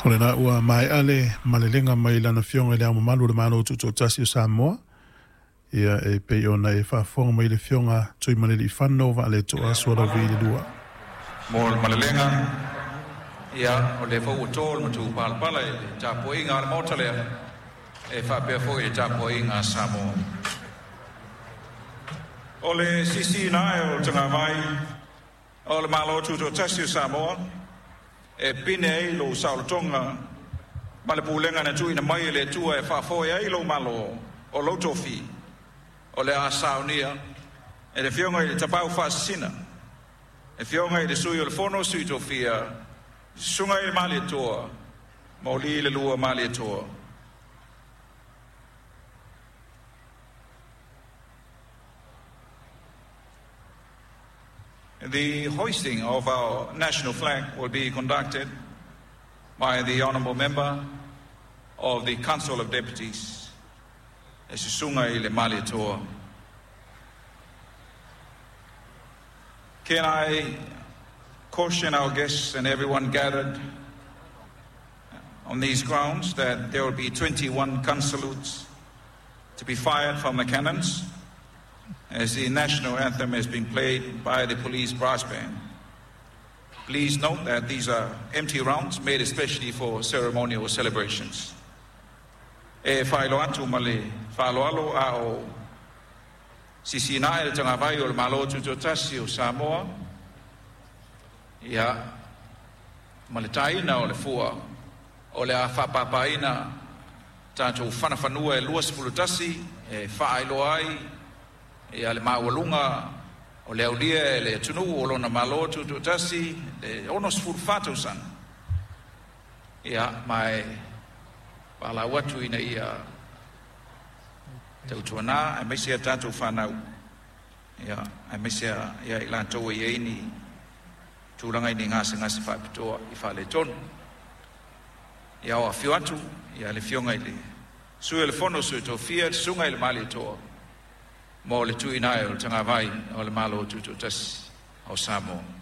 O lena ua mae'a le malelega mai Lana Afioga i Le Ao Mamalu o le Malo Tutoatasi o Samoa, ia e pei ona e faafofoga mai le Afioga Tuimalealiifano Vaaleto'a Sualauvi II. Mo le malelega, ia, o lea foi ua to le matupalapala i le tapuaiga a le Maota lea, e faapea foi i le tapuaiga a Samoa. O le sisiina ae o le tagavai o le Malo Tutoatasi o Samoa e pine ai lou saolotoga ma le pulega na tuuina mai e le Atua e faafoe ai lou Malo o lou tofi, o le a saunia e le Afioga i le Tapaau Faasisina, le Afioga i le Sui o le Fono a Sui Tofia, Susuga i le Malietoa Mauliilalua Malietoa. The hoisting of our national flag will be conducted by the Honourable Member of the Council of Deputies, le Susuga i le Malietoa. Can I caution our guests and everyone gathered on these grounds that there will be 21 gun salutes to be fired from the cannons as the national anthem has been played by the police brass band. Please note that these are empty rounds made especially for ceremonial celebrations. E faailoa atu ma le faaaloalo a o sisiina ae le tagavai o le Malo Tutoatasi o Samoa, ia, ma le taina o le fua o le a faapapaina tatou fanafanua e 21 e faailoa ai ia le maualuga o le aulia e le atunuu o lona Malo Tutoatasi le 64 tausaga, ia, ma e valaau atu ina ia tautuana aemaise a tatou fanau, ia, aemaise ia i latou e i ai ni tulaga i ni gasegase faapitoa i faaletonu. Ia, o afio atu ia le Afioga i le Sui o le Fono Sui Tofia, le Susuga i le Malietoa, mo le tuuina ae o le tagavai o le Malo Tutoatasi o Samoa.